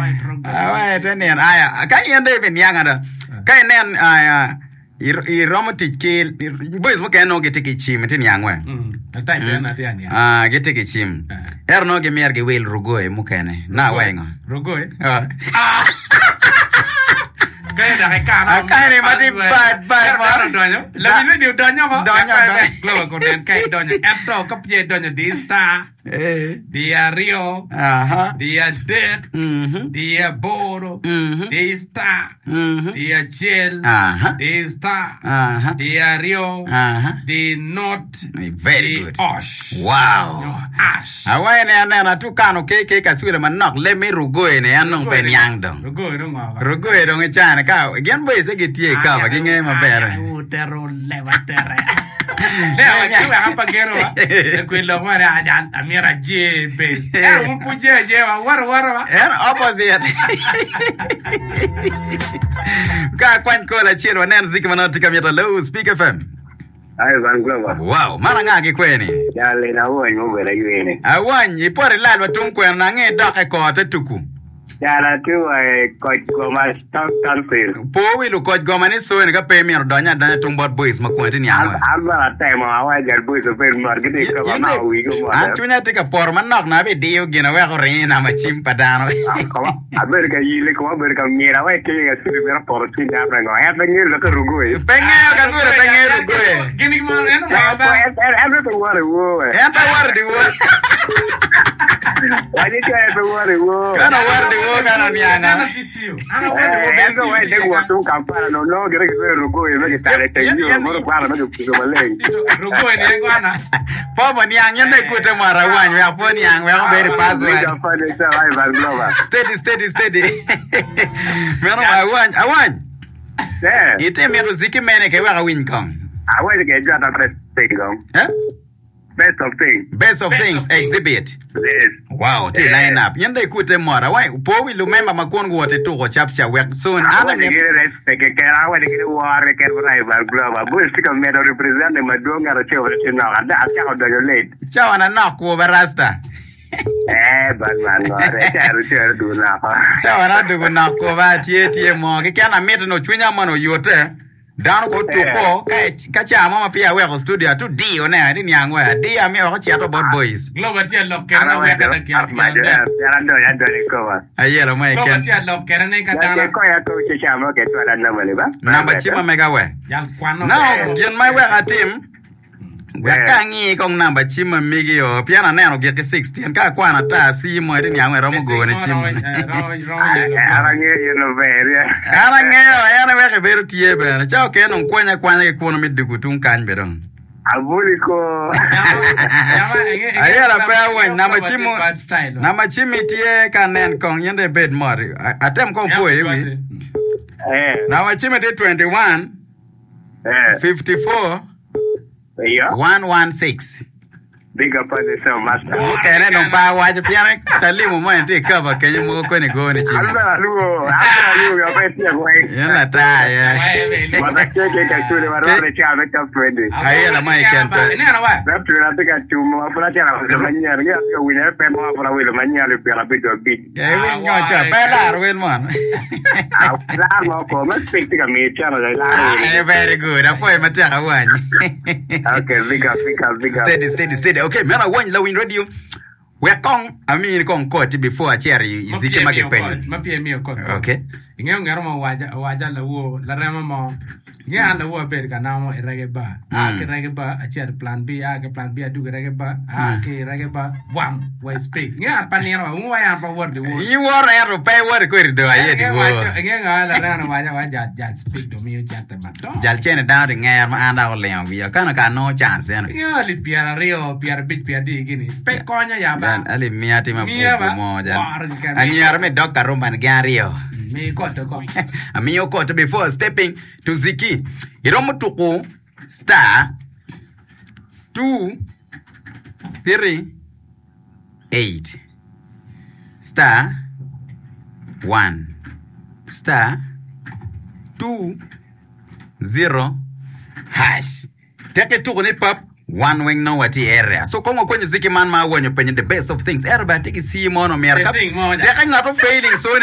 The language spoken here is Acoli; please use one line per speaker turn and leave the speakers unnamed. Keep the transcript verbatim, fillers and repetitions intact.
Awa te nino aya ka in dong ibiniang ada ka inen aya ir- iromo tic ki boys mukene nongo gitye ki cim iti niang we
Atany bene atye aniang.
Ah, gitye ki cim
Ah.
ento nongo gimyero giwil rugoye mukene na awa ingo
Rugoye.
Ah.
Kayo dok ikano.
Akani ma tye bad, bad,
Ero
man.
dano odonyo. Lawiny radio odonyo ko.
Donyo, donyo.
Glover konen ka idonyo. Ento ka peya idonyo di star,
Eh.
di aryo,
Aha.
di adek,
Mhm.
di aboro,
Mhm.
di star,
Mhm.
di acel,
Aha.
di star,
Aha.
di aryo,
Aha.
di not,
Very
di
good.
osh.
Wow.
Nyo ash.
Awaye ni aneno atukano keke kaswila manok le mi rugoye ni an dong pe niang dong.
Rugoye dong ngo ba?
Rugoye dong icane ka gin boys gitye i kava gingeyo maber.
Utero leba tere. Ne awa ci wek apa geno wa. Ekwe lok ma ne ajan amira je base. Eh un pu je je wa waro waro wa.
En opposite. Ka kwany kola acel wanen ziki manok tye ka mito Hello, Speak FM.
Ai Van Glover.
Wow, man anga ki kweni?
Jal ina awony mo bedo ayweni.
Awany, ipot ilal wa tung kwena na ange idok e kor te tuku.
Jal atye wa i koc goma Town Council.
Po wi lukoc goma ni soeni ka pe imito donyo adonya tung bot boys ma kwene tye niang wa.
An bene atemo awa jal boys obed mot gitye i kaba ma wigi omot.
An cwinya tye ka poto manok na abidiyo gin aweko ringo i namba cim pa dano.
Abedo ka yile koma abedo ka myel awa ikinyo ka city mito poto cwiny dano pe ngo. En pe ngeyo lokke rugoye.
Pe ngeyo ka cwere pe ngeyo rugoye.
Gin gi mo en ngo ba.
En pe woro i wor we.
En pe woro di wor.
Wanyo ce en pe woro i wor.
Kano woro di wor kano nianga.
Ana ti siu. Ana woro di wor.
En pe wa idek wot tung Kampala no nongo gire gitweyo rugoye me gitale teng yo moro kwano me gipuso maleng.
Rugoye ni kwana.
Po mo niang yen ne kute moro awany wek po niang wek obed i password.
Big up on yourself, Ai Van Glover.
Steady steady steady. Meno awany awany.
Eh,
Ite mito ziki mene ke wek awiny kong.
awaco ke jwata best thing kong.
Eh?
Best of things.
Best of
Best
things
of things.
exhibit.
Yes.
Wow, tye line up. Yen dong ikute mot awany po wi lumemba ma kun guwot i tuko cap cap wek soon an
Awaco
amito
gini respect keken, awaco gini wor keken bot Ai Van Glover. Boys tye ka medo represent madwong ngat acel wek tye nok. Ada acako donyo late.
cawa na nok kwo ba rasta.
Eh, bad man ngore. Cero cero du noko.
Cawa na dugu nok kwo ba tye tye mo keken amito no cwinya mono oyute. Dano ko tuko ka ka ca mo ma peya aweko studio atu diyo ne ati niang we adiyo amiyo wek ocito bot boys.
Glover tye alok kene na wek ada kya
Majo
kya.
en adonyo adonyo i koma.
Ayelo mo
Glover
eken.
tye alok kene ni ka dano
Ke koya ko ce ca mo ke twala namba ni ba.
Namba cim amega we.
jal kwano.
Now gin ma wek atim wek ka angi kong namba cim ma migi o pien aneno gik ki sixteen ka akwano ata si mo iti niang we romo gone cim.
An angeyo yin maber.
An angeyo en wek ibedo tye bene ca okene dong kwanya akwanya ki kuno me dugu tung kany be dong.
Abuli ko.
Ayela pe awany namba cim namba cim tye ka nen kong yin dong ibed mot atem kong po i wi
Eh.
namba cim tye twenty-one
Eh.
fifty-four
Iyo.
one one six
Big up on yourself, master.
Mukene dong pe awaco pien Salimu mo en tye i kaba kenyo mogo koni goni cim.
An bene aluwo, an bene aluwo yo pe tye weng.
Yen lata ye.
Wata tye ke ka cule warwako ca me top twenty.
Ayela mo iken pe.
Ineno wa?
Top twenty atye ka tumo, ma pud atye ka wilo manyen. Ngi atye ka winyo F M ma pud awilo manyen alip pyera abic wa abic.
Eh, winy ngo ca, pe laro wel mon.
Lar mo ko, me speak tye ka miyi ceno la ilaro wel.
Eh, very good. Apwoyo matek awany.
Okay, big up, big up, big up.
Steady, steady, steady. Okay, meno awany lawiny radio. Wek kong amini kong koti before acito i i ziki ma gipenyo.
Ma pye miyo kot.
Okay.
Ingeyo ngero mo waja waja lawo larema mo. Ingeyo an lawo abedo ka namo i reggae bar. A ki reggae bar acito i plan B, a ki plan B adugo i reggae bar, a ki i reggae bar bwam wa i speak. Ingeyo an pa nino wa, ungu wa an pa wot di wor.
Iworo ento pe iworo kodi do aye di
Ingeyo
wor.
waco, ingeyo nga larema waja wa jal jal speak do miyo cente madongo.
Jal cene dano di nger ma an dok olingo wiya. Kano ka nongo chance eno.
Ingeyo alip pyera aryo, pyera abic, pyera adi gini. Pe konyo ya ba.
Jal alip miya tye ma
Miya ba,
bubu mo jal.
woro keken.
Anyero me dog karumba ni gin aryo.
Mi koto ko.
Amiyo koto before stepping to Ziki. Iromo tuku star two three eight star one star two zero hash. Teke tuku ni pap wan weng no wati area. So kong wakwenyo Ziki man ma awonyo penyo the best of things. Ero ba tiki si mono myero
The
ka
sing mo ja.
teke ngato failing so